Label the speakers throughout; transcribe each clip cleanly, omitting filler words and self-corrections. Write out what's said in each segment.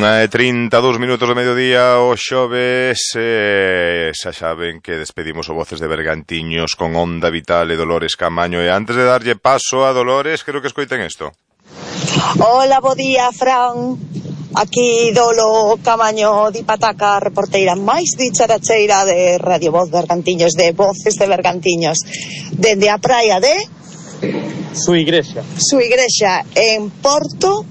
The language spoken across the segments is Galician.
Speaker 1: 1:32 do mediodía o xoves, xa saben que despedimos o Voces de Bergantiños con Onda Vital e Dolores Camaño, e antes de darlle paso a Dolores, creo que escoiten isto.
Speaker 2: Hola, bo día, Fran. Aquí Dolo Camaño di Pataca, reporteira máis dicharacheira de Radio Voz Bergantiños, de Voces de Bergantiños, dende a praia de
Speaker 3: Su igrexa
Speaker 2: en Porto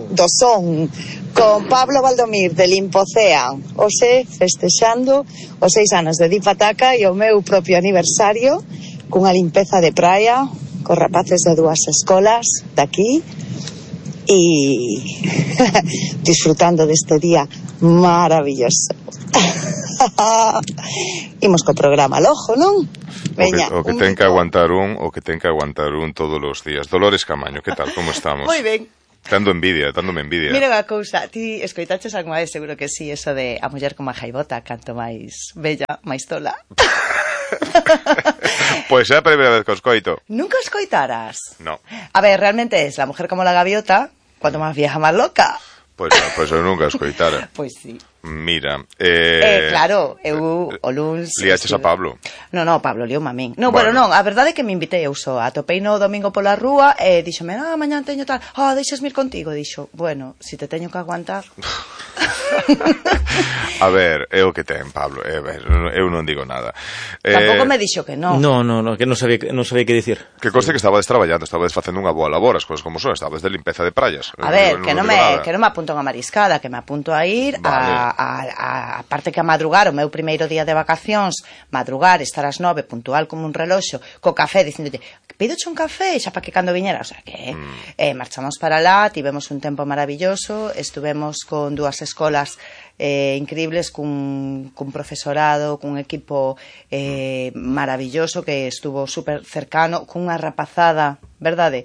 Speaker 2: do Son, con Pablo Valdomir de Limpocean, hoxe festexando os 6 anos de Di Pataca e o meu propio aniversario, cunha limpeza de praia cos rapaces de 2 escolas daqui e disfrutando deste día maravilloso. Imos co programa lojo, non? Veña,
Speaker 1: o que ten que aguantar un todos os días. Dolores Camaño, que tal, como estamos?
Speaker 2: Moi ben.
Speaker 1: Dándome envidia.
Speaker 2: Mira unha cousa, ti escoitaches algunha vez, seguro que sí, eso de a muller como a jaibota, canto máis bella, máis tola.
Speaker 1: Pois é a primeira vez que os coito.
Speaker 2: Nunca escoitaras?
Speaker 1: No.
Speaker 2: A ver, realmente es la mujer como la gaviota, cuanto más vieja, más loca.
Speaker 1: Pois non, pois eu nunca escoitara.
Speaker 2: Pois sí.
Speaker 1: Mira,
Speaker 2: claro, eu o luns...
Speaker 1: Liaches a Pablo?
Speaker 2: No, Pablo liou a min. No, bueno, non, a verdade é que me invitei eu só. Atopei no domingo pola rúa e díxome, mañán teño tal, deixas mir contigo. Dixo, bueno, si te teño que aguantar...
Speaker 1: A ver, é o que ten, Pablo. Eu non digo nada.
Speaker 2: Tampouco me dixo que non.
Speaker 3: No, que non sabía que dicir.
Speaker 1: Que conste que estabades traballando, estabades facendo unha boa labor, as cousas como son, estabades de limpeza de praias.
Speaker 2: A ver, que non me apunto a mariscada, que me apunto a ir a parte que a madrugar, o meu primeiro día de vacacións, madrugar, estar ás 9, puntual como un reloxo, co café, dicíndote, pídoche un café, xa para que cando viñera, o sea que marchamos para lá, tivemos un tempo maravilloso, estuvemos con 2 escolas increíbles, cun profesorado, cun equipo maravilloso que estuvo super cercano, cunha rapazada, verdade?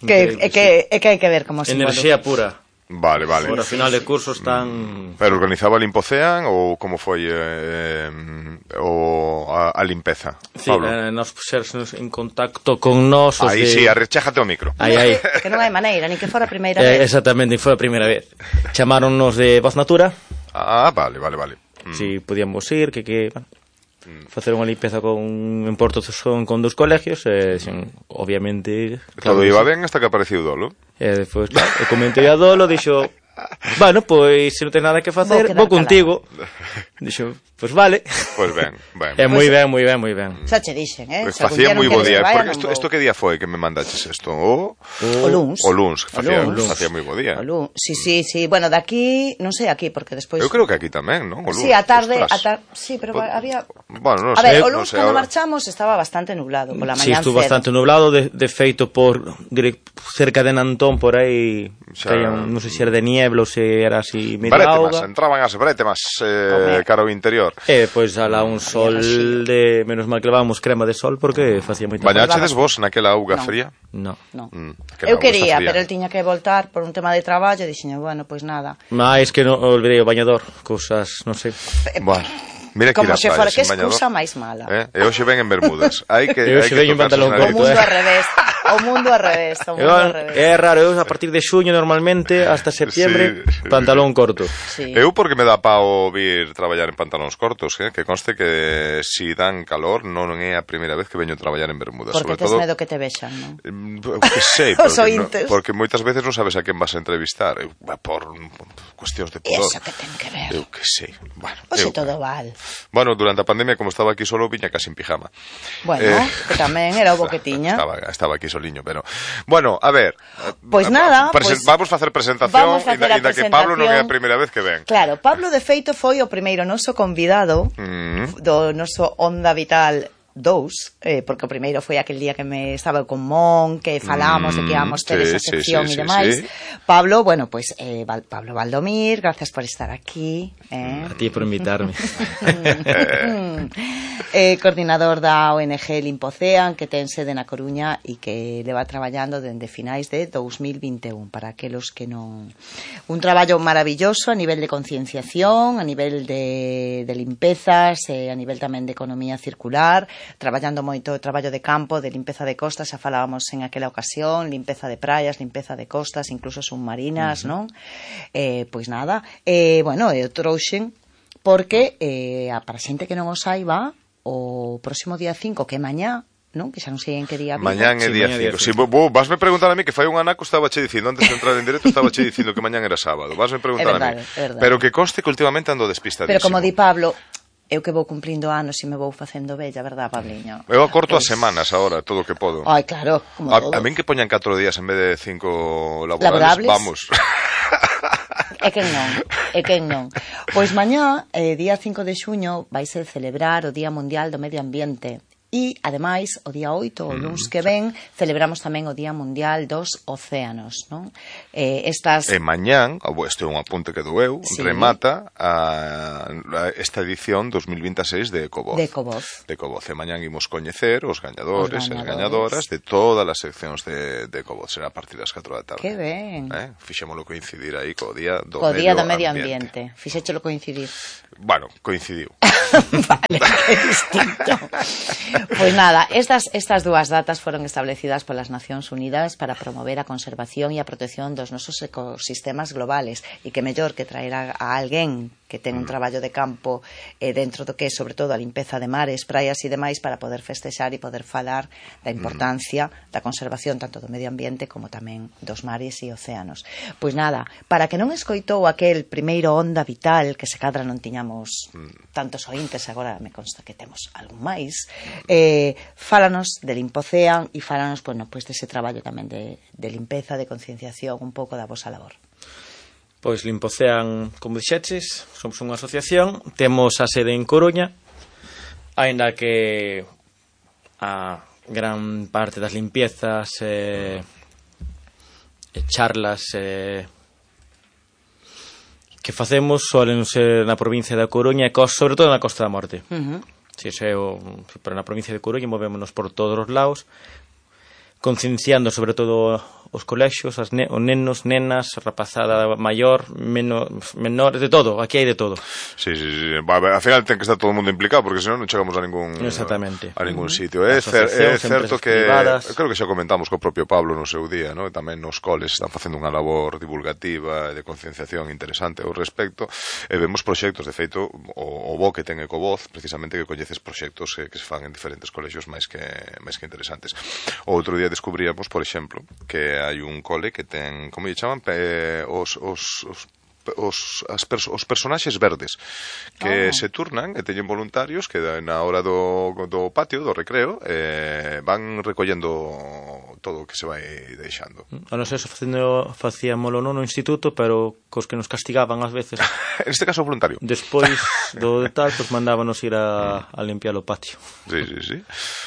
Speaker 2: Que hai que ver como se
Speaker 3: enerxía pura.
Speaker 1: Vale.
Speaker 3: Por a final de curso están...
Speaker 1: Pero organizaba Limpocean ou como foi a limpeza?
Speaker 3: Sí, nos puxernos en contacto con nós.
Speaker 1: Aí sí, arrechéjate o micro.
Speaker 3: Aí.
Speaker 2: Que non hai maneira, ni que fora a primeira vez.
Speaker 3: Exactamente, foi a primeira vez. Chamáronnos de Voz Natura.
Speaker 1: Vale.
Speaker 3: Si podíamos ir, que facer unha limpeza en Porto Son con 2 colegios, obviamente...
Speaker 1: Todo iba ben hasta que apareceu Dolo.
Speaker 3: Despois, comentei a Dolo, dixo, bueno, pois, se non ten nada que facer, vou contigo. Dixo, pois vale.
Speaker 1: Pois ben.
Speaker 3: Moi ben.
Speaker 2: Xa che dixen,
Speaker 1: Facía moi bo día. Porque isto que día foi que me mandaches isto? O luns. O luns, facía moi bo día.
Speaker 2: Sí. Bueno, daqui, non sei aquí, porque despois...
Speaker 1: Eu creo que aquí tamén, non? O luns.
Speaker 2: Sí, a tarde, sí, pero había...
Speaker 1: Bueno, non
Speaker 2: sei. A ver, o luns, cando
Speaker 1: ahora...
Speaker 2: marchamos, estaba bastante nublado, pola mañán.
Speaker 3: Sí, estuvo bastante nublado, de feito por cerca de Nantón, por aí, non sei se era de niebla ou se era así medio auga.
Speaker 1: Entraban as brétemas cara ao interior.
Speaker 3: Pois alá un sol de... Menos mal que levábamos crema de sol porque facía moita...
Speaker 1: Bañachedes vos naquela auga fría?
Speaker 3: No.
Speaker 2: Eu quería, pero el tiña que voltar por un tema de traballo e dixen, bueno, pois nada.
Speaker 3: Mais que non olvidei o bañador, cousas, non sei.
Speaker 1: Bueno. Mira que
Speaker 2: como se fora, que excusa máis mala.
Speaker 1: E hoxe ven en bermudas.
Speaker 3: E hoxe ven en pantalón corto.
Speaker 2: O mundo ao revés.
Speaker 3: É raro, eu a partir de xuño normalmente hasta septiembre pantalón corto.
Speaker 1: Eu porque me dá pao vir traballar en pantalóns cortos, que conste que si dan calor non é a primeira vez que veño traballar en bermudas.
Speaker 2: Porque tes medo que te vexan, non?
Speaker 1: Que sei, porque moitas veces non sabes a quen vas a entrevistar por cuestións de pudor.
Speaker 2: Eso que ten que ver.
Speaker 1: Eu que sei.
Speaker 2: Oxe todo val.
Speaker 1: Bueno, durante a pandemia, como estaba aquí solo, viña casi en pijama.
Speaker 2: Bueno, que tamén era o bo que tiña.
Speaker 1: Estaba aquí soliño, pero... Bueno, a ver...
Speaker 2: Pois nada...
Speaker 1: Vamos facer presentación, ainda que Pablo non é a primeira vez que ven.
Speaker 2: Claro, Pablo, de feito, foi o primeiro noso convidado do noso Onda Vital 2, porque o primeiro foi aquel día que me estaba con Mon, que falamos de que íbamos ter esa sección e demais. Pablo, bueno, pues Pablo Valdomir, gracias por estar aquí.
Speaker 3: A ti por invitarme.
Speaker 2: Coordinador da ONG Limpocean, que ten sede na Coruña e que leva traballando dende finais de 2021, para aqueles que non... Un traballo maravilloso a nivel de concienciación, a nivel de limpezas, a nivel tamén de economía circular, traballando moito o traballo de campo, de limpeza de costas, xa falábamos en aquela ocasión, limpeza de praias, limpeza de costas, incluso submarinas, non? Pois nada, bueno, eu trouxen porque para xente que non o saiba, o próximo día 5, que é mañá, non? Que xa non sei en que día vivo.
Speaker 1: Mañán é día 5. Si, vasme preguntar a mí que fai un anaco estaba che dicindo, antes de entrar en directo estaba che dicindo que mañán era sábado. Vasme preguntar a mí. Pero que conste que últimamente ando despistadísimo.
Speaker 2: Pero como di Pablo, eu que vou cumplindo anos e me vou facendo bella, verdad, Pabliño?
Speaker 1: Eu acorto as semanas agora, todo o que podo.
Speaker 2: Ai, claro, como todos.
Speaker 1: A min que poñan 4 días en vez de 5 laborables, vamos.
Speaker 2: É quen non. Pois mañá, día 5 de xuño, vaise celebrar o Día Mundial do Medio Ambiente. E, ademais, o día 8, o luns que ven, celebramos tamén o Día Mundial dos Océanos, non?
Speaker 1: E mañán, este é un apunte que dou eu, remata esta edición 2026 de Ecovoz.
Speaker 2: De Ecovoz.
Speaker 1: E mañán imos coñecer os gañadores e as gañadoras de todas as seccións de Ecovoz. Será a partir das 4 da tarde.
Speaker 2: Que ben.
Speaker 1: Fixémolo coincidir aí co Día do
Speaker 2: Medio Ambiente. Fixéchelo coincidir.
Speaker 1: Bueno, coincidiu.
Speaker 2: Vale, que distinto. Pois nada, estas dúas datas foron establecidas polas Nacións Unidas para promover a conservación e a protección dos nosos ecosistemas globales, e que mellor que traer a alguén que ten un traballo de campo dentro do que é, sobre todo, a limpeza de mares, praias e demais, para poder festexar e poder falar da importancia da conservación tanto do medio ambiente como tamén dos mares e océanos. Pois nada, para que non escoitou aquel primeiro Onda Vital, que se cadra non tiñamos tantos ointes, agora me consta que temos algún máis, fálanos de Limpocean e fálanos, bueno, pois dese traballo tamén de limpeza, de concienciación, un pouco da vosa labor.
Speaker 3: Pois Limpocean, como dixeches, somos unha asociación, temos a sede en Coruña, aínda que a gran parte das limpiezas e charlas que facemos solen ser na provincia da Coruña e sobre todo na Costa da Morte. Pero na provincia de Coruña movémonos por todos os lados, concienciando sobre todo os colexios, os nenos, nenas, rapazada maior, menor, de todo, aquí hai de todo.
Speaker 1: Sí. Al final ten que estar todo o mundo implicado, porque senón non chegamos a ningún sitio. É certo que creo que xa comentamos co propio Pablo no seu día, ¿no? Tamén nos coles están facendo unha labor divulgativa e de concienciación interesante ao respecto, e vemos proxectos, de feito, o bo que ten Ecovoz, precisamente que coñeces proxectos que se fan en diferentes colexios máis que interesantes. O outro día descubríamos, por exemplo, que hai un cole que ten, como lle chaman, os personaxes verdes que se turnan e teñen voluntarios que na hora do patio, do recreo, van recollendo todo o que se vai deixando.
Speaker 3: A non ser facíamolo non no instituto, pero cos que nos castigaban ás veces.
Speaker 1: En este caso voluntario.
Speaker 3: Despois do tal, pues mandábanos ir a limpiar o patio.
Speaker 1: Sí.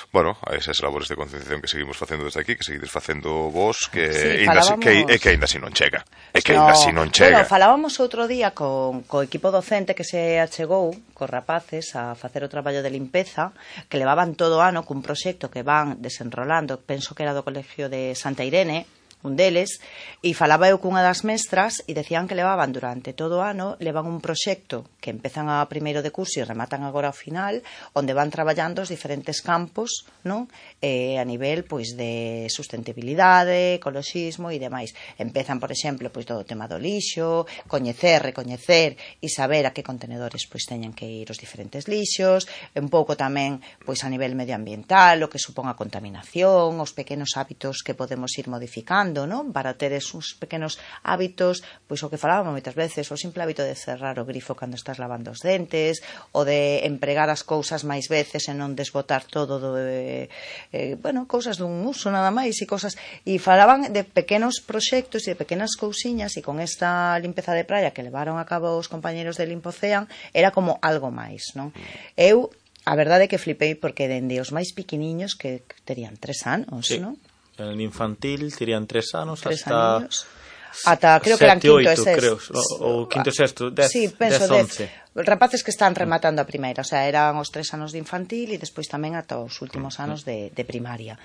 Speaker 1: Bueno, a esas labores de concienciación que seguimos facendo desde aquí, que seguides facendo vos, que ainda así non chega. Bueno,
Speaker 2: falábamos outro día co equipo docente que se achegou cos rapaces a facer o traballo de limpeza, que levaban todo o ano cun proxecto que van desenrolando, penso que era do Colegio de Santa Irene, un deles, e falaba eu cunha das mestras e decían que levaban durante todo o ano, levan un proxecto que empezan a primeiro de curso e rematan agora ao final, onde van traballando os diferentes campos, non? A nivel pois de sustentabilidade, ecoloxismo e demais. Empezan, por exemplo, pois todo o tema do lixo, coñecer, recoñecer e saber a que contenedores pois teñen que ir os diferentes lixos, un pouco tamén pois a nivel medioambiental, o que supón a contaminación, os pequenos hábitos que podemos ir modificando, non? Para ter esos pequenos hábitos, pois o que falábamos moitas veces, o simple hábito de cerrar o grifo cando estás lavando os dentes, o de empregar as cousas máis veces e non desbotar todo cousas dun uso nada máis e falaban de pequenos proxectos e de pequenas cousiñas, e con esta limpeza de praia que levaron a cabo os compañeros de Limpocean era como algo máis, non? Eu, a verdade é que flipei porque dende os máis piquiniños que terían 3 anos, non?
Speaker 3: En infantil terían 3 anos
Speaker 2: ata creo que eran quinto e sexto,
Speaker 3: ou quinto e sexto, 10, 11
Speaker 2: rapaces que están rematando a primeira, o sea, eran os 3 anos de infantil e despois tamén ata os últimos anos de primaria.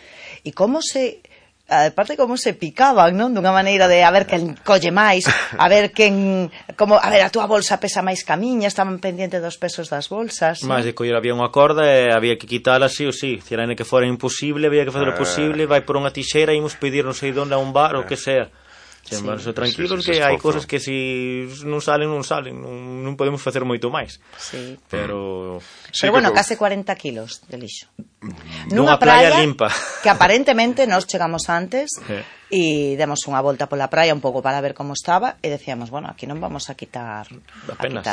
Speaker 2: E como se aparte como se picaban, non? Dunha maneira de a ver quen colle máis, a ver quen, como, a ver, a túa bolsa pesa máis que a miña, estaban pendientes dos pesos das bolsas.
Speaker 3: Máis de coller, había unha corda e había que quitala así ou sí, se era que fora imposible, había que fazer o posible, vai por unha tixeira e imos pedir non sei onde a un bar ou que sea. Sí. Tranquilos que hai cousas que si non salen, non podemos facer moito máis.
Speaker 2: Sí.
Speaker 3: Pero
Speaker 2: bueno, case 40 kilos de lixo.
Speaker 3: Nunha praia limpa.
Speaker 2: Que aparentemente nos chegamos antes e demos unha volta pola praia un pouco para ver como estaba e decíamos, bueno, aquí non vamos a quitar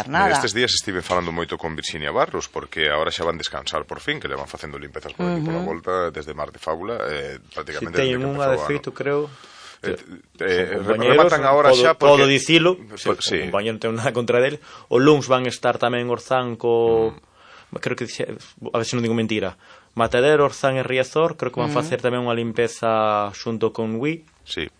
Speaker 2: nada.
Speaker 1: Estes días estive falando moito con Virxinia Barros porque agora xa van descansar por fin, que le van facendo limpezas por aquí pola volta desde Mar de Fábula, prácticamente
Speaker 3: desde que empezou. Teñen unha de feito, creo.
Speaker 1: Rematan agora xa porque...
Speaker 3: Podo dicilo, sí. O compañero ten nada contra dele. O luns van estar tamén Orzán creo que a ver se non digo mentira, Matadero, Orzán e Riazor, creo que van facer tamén unha limpeza xunto con Wii.
Speaker 1: Sí.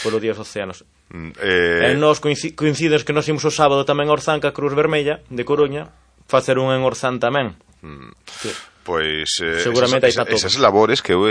Speaker 3: Polo Día dos Océanos. E nós coincides que nos imos o sábado tamén a Orzán ca Cruz Vermella de Coruña, facer un en Orzán tamén. Sí.
Speaker 1: Pois
Speaker 3: seguramente
Speaker 1: esas labores que eu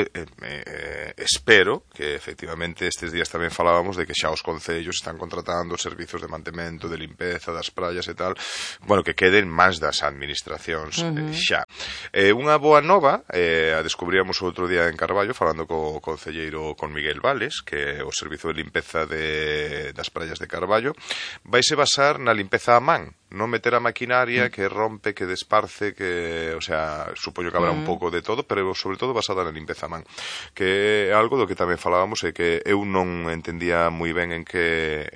Speaker 1: espero que efectivamente estes días tamén falábamos de que xa os concellos están contratando servizos de mantemento, de limpeza das praias e tal, bueno, que queden máis das administracións xa. Unha boa nova, a descubríamos outro día en Carballo falando co concelleiro, con Miguel Vales, que o servizo de limpeza das praias de Carballo vaise basar na limpeza a man, non meter a maquinaria que rompe, que desparce, que, o sea, supoño que habrá un pouco de todo, pero sobre todo basada na limpeza a man, que é algo do que tamén falábamos e que eu non entendía moi ben en que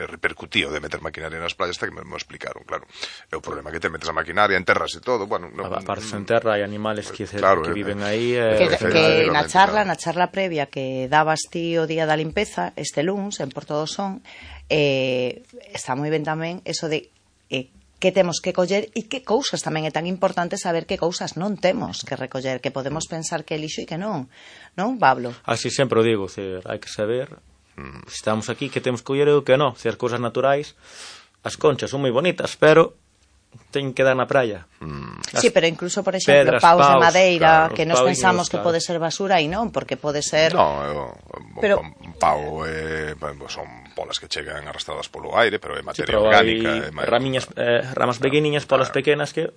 Speaker 1: repercutía o de meter maquinaria nas playas, hasta que me explicaron, claro. É o problema que te metes a maquinaria, enterras e todo, bueno,
Speaker 3: aparte se enterra, hai animales que viven aí,
Speaker 2: que na charla previa que dabas ti o día da limpeza, este luns en Porto do Son, está moi ben tamén eso de que temos que coller e que cousas tamén é tan importante saber que cousas non temos que recoller, que podemos pensar que é lixo e que non, Pablo?
Speaker 3: Así sempre o digo, hai que saber se estamos aquí que temos que coller e o que non, se as cousas naturais, as conchas son moi bonitas, pero teñen que dar na praia.
Speaker 2: Sí, pero incluso, por exemplo, paus de madeira, claro, que nos pensamos que pode ser basura e non, porque pode ser...
Speaker 1: Un pau son polas que chegan arrastradas polo aire, pero é materia orgánica.
Speaker 3: Ramas pequeniñas, polas pequenas que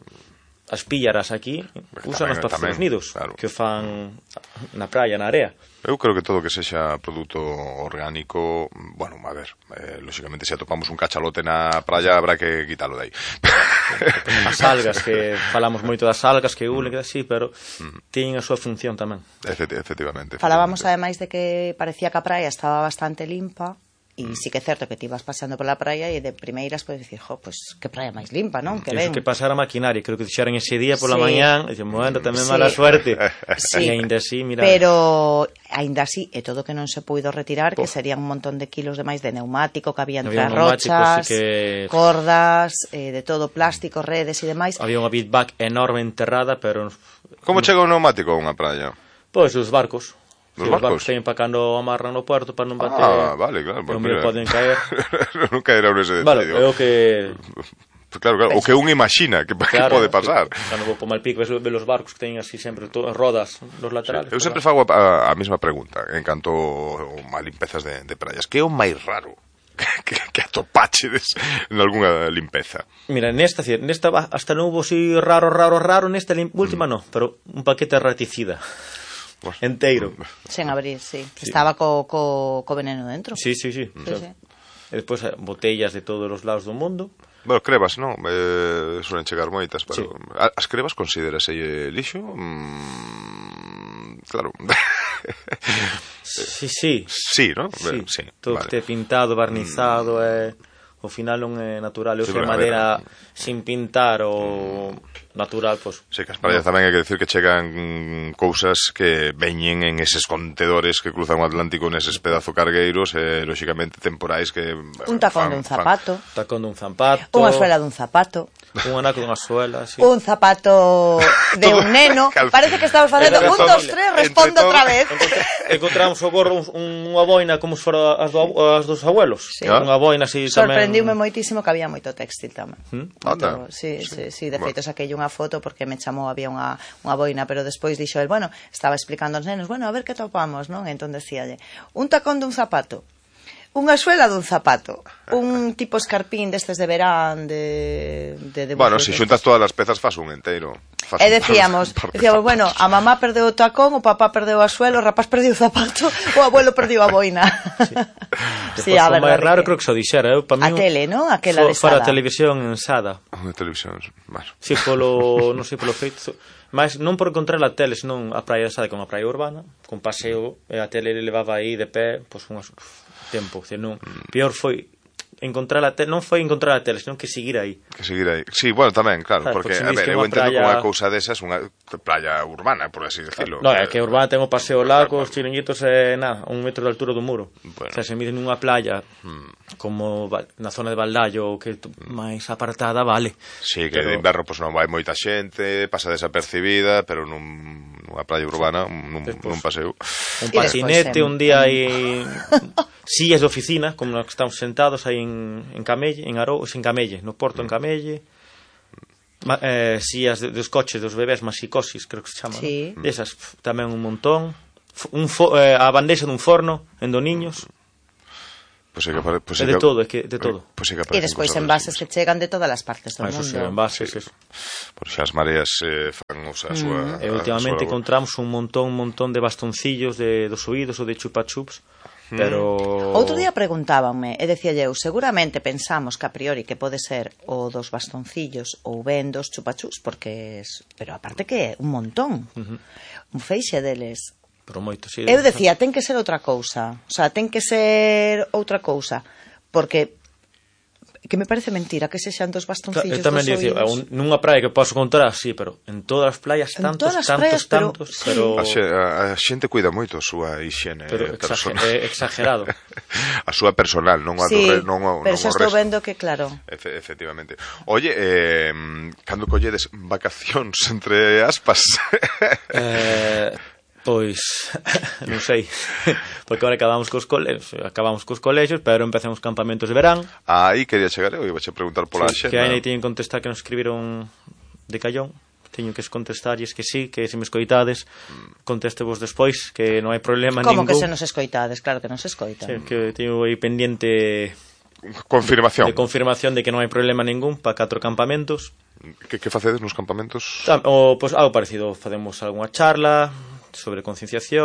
Speaker 3: as píllaras aquí usan para facer os nidos, que fan na praia, na area.
Speaker 1: Eu creo que todo que sexa produto orgánico, bueno, a ver, lógicamente se atopamos un cachalote na praia habrá que quitalo de aí.
Speaker 3: As algas, que falamos moito das algas que ulen, que así, pero teñen a súa función tamén.
Speaker 1: Efectivamente.
Speaker 2: Falábamos ademais de que parecía que a praia estaba bastante limpa. E sí que é certo que ti vas paseando pola praia e de primeiras podes dicir, pues que praia máis limpa, non? Que ben.
Speaker 3: Que pasar a maquinaria, creo que dixeran ese día pola mañán, e dixemos, bueno, tamén mala suerte.
Speaker 2: Sí.
Speaker 3: E ainda así, mira.
Speaker 2: Pero ainda así, é todo que non se puido retirar, que serían un montón de kilos de máis de neumático que había entre as rochas, cordas, de todo, plástico, redes e demais.
Speaker 3: Había unha bitback enorme enterrada, pero...
Speaker 1: Como chega un neumático a unha praia?
Speaker 3: Pois os barcos.
Speaker 1: Os barcos
Speaker 3: teñen para cando amarran no puerto para non bater.
Speaker 1: Vale, claro.
Speaker 3: Non me poden caer.
Speaker 1: Non caerá nese detalle.
Speaker 3: Vale, é o que...
Speaker 1: Claro, o que un imagina que pode pasar.
Speaker 3: Cando vou por Malpico ves os barcos que teñen así sempre rodas nos laterales.
Speaker 1: Eu sempre fago a mesma pregunta en canto a limpezas de praias. Que é o máis raro que atopachedes en algunha limpeza?
Speaker 3: Mira, nesta hasta non hubo así raro, nesta última non, pero un paquete de raticida enteiro.
Speaker 2: Sen abrir, sí. Estaba co veneno dentro.
Speaker 3: Sí. E despois botellas de todos os lados do mundo.
Speaker 1: Bueno, crevas, non? Suelen chegar moitas, pero as crevas considerase lixo? Claro.
Speaker 2: Sí,
Speaker 1: non?
Speaker 3: Sí. Todo que este pintado, barnizado, ao final non é natural. É madeira sin pintar ou natural, pois...
Speaker 1: Sí, que as praias tamén hai que decir que chegan cousas que veñen en eses contedores que cruzan o Atlántico neses pedazo cargueiros, lógicamente temporais que...
Speaker 2: Un tacón dun zapato.
Speaker 3: Unha
Speaker 2: suela dun zapato.
Speaker 3: Un anaco dunha suela, sí.
Speaker 2: Un zapato de un neno. Parece que estamos facendo 1, 2, 3, respondo outra vez.
Speaker 3: Encontramos o gorro unha boina como se fora as dos abuelos. Unha boina así tamén.
Speaker 2: Sorprendiume moitísimo que había moito textil tamén. Sí, de feito, saquei unha unha foto porque me chamou, había unha boina, pero despois dixo el, bueno, estaba explicando aos nenos, bueno, a ver que topamos, non? Entón decíalle, un tacón dun zapato, unha suela dun zapato, un tipo escarpín destes de verán, de
Speaker 1: bueno, se xuntas todas as pezas faz un enteiro.
Speaker 2: E decíamos, bueno, a mamá perdeu o tacón, o papá perdeu a suela, o rapaz perdeu o zapato, o abuelo perdeu a boina.
Speaker 3: Sí, a verdade. O máis raro creo que se o dixera,
Speaker 2: a tele, non? Aquela de
Speaker 3: Sada. Fora a televisión en Sada.
Speaker 1: A televisión, bueno.
Speaker 3: Si, non sei, polo feito, mas non por encontrar a tele, senón a praia de Sada, que é unha praia urbana, con paseo, e a tele levaba aí de pé, pois unhas tempo, non, peor foi encontrar a tele, non foi encontrar a tele, senón que seguir aí.
Speaker 1: Sí, bueno, tamén, claro, porque a ver, eu entendo que unha cousa desas, unha playa urbana, por así decirlo.
Speaker 3: Non, é que urbana ten o paseo largo, os chiringuitos e nada, 1 metro de altura do muro. O sea, se miden nunha playa como na zona de Valdallo, que máis apartada, vale.
Speaker 1: Sí, que de inverno non vai moita xente, pasa desapercibida, pero nunha playa urbana, nun paseo.
Speaker 3: Un patinete, un día aí sillas de oficina, como nos que estamos sentados aí en Camelle, en Arou, en Camelle, no Porto en Camelle, sillas dos coches dos bebés, masicosis, creo que se chama,
Speaker 2: sí.
Speaker 3: Esas tamén un montón, a bandexa dun forno en Doniños.
Speaker 1: Pues de
Speaker 3: todo, é que de todo.
Speaker 2: E despois envases que chegan de todas as partes do mundo.
Speaker 3: Eso, envases, eso.
Speaker 1: Por xa as mareas fan a súa...
Speaker 3: E últimamente encontramos un montón de bastoncillos dos oídos ou de chupa-chups, pero...
Speaker 2: Outro día preguntábanme, e decía eu, seguramente pensamos que a priori que pode ser o dos bastoncillos ou ben dos chupa-chups, porque pero aparte que é un montón, un feixe deles.
Speaker 3: Pero moito, sí.
Speaker 2: Eu decía, ten que ser outra cousa. O sea, ten que ser outra cousa. Porque que me parece mentira que sexan dos bastoncillos dos oídos. Tamén dicía,
Speaker 3: nunha praia que posso encontrar, sí, pero en todas as playas tantos, pero...
Speaker 1: A xente cuida moito a súa higiene
Speaker 3: personal. Exagerado.
Speaker 1: A súa personal, non a
Speaker 2: sí,
Speaker 1: non
Speaker 2: pero xa estou vendo que, claro.
Speaker 1: Efectivamente. Oye, cando colledes vacacións entre aspas?
Speaker 3: Pois, non sei, porque agora acabamos cos colexios, pero empezamos campamentos de verán.
Speaker 1: Aí quería chegar, eu iba a preguntar pola xena.
Speaker 3: Que aí teñen que contestar que nos escribiron de Callón, teño que contestarlles que sí, que se me escoitades, contestevos despois, que non hai problema ningún.
Speaker 2: Como que se nos escoitades? Claro que nos escoitan.
Speaker 3: Sí, que teño aí pendiente...
Speaker 1: Confirmación.
Speaker 3: De confirmación de que non hai problema ningún para 4 campamentos.
Speaker 1: Que facedes nos campamentos?
Speaker 3: Pois algo parecido, facemos algunha charla sobre concienciación,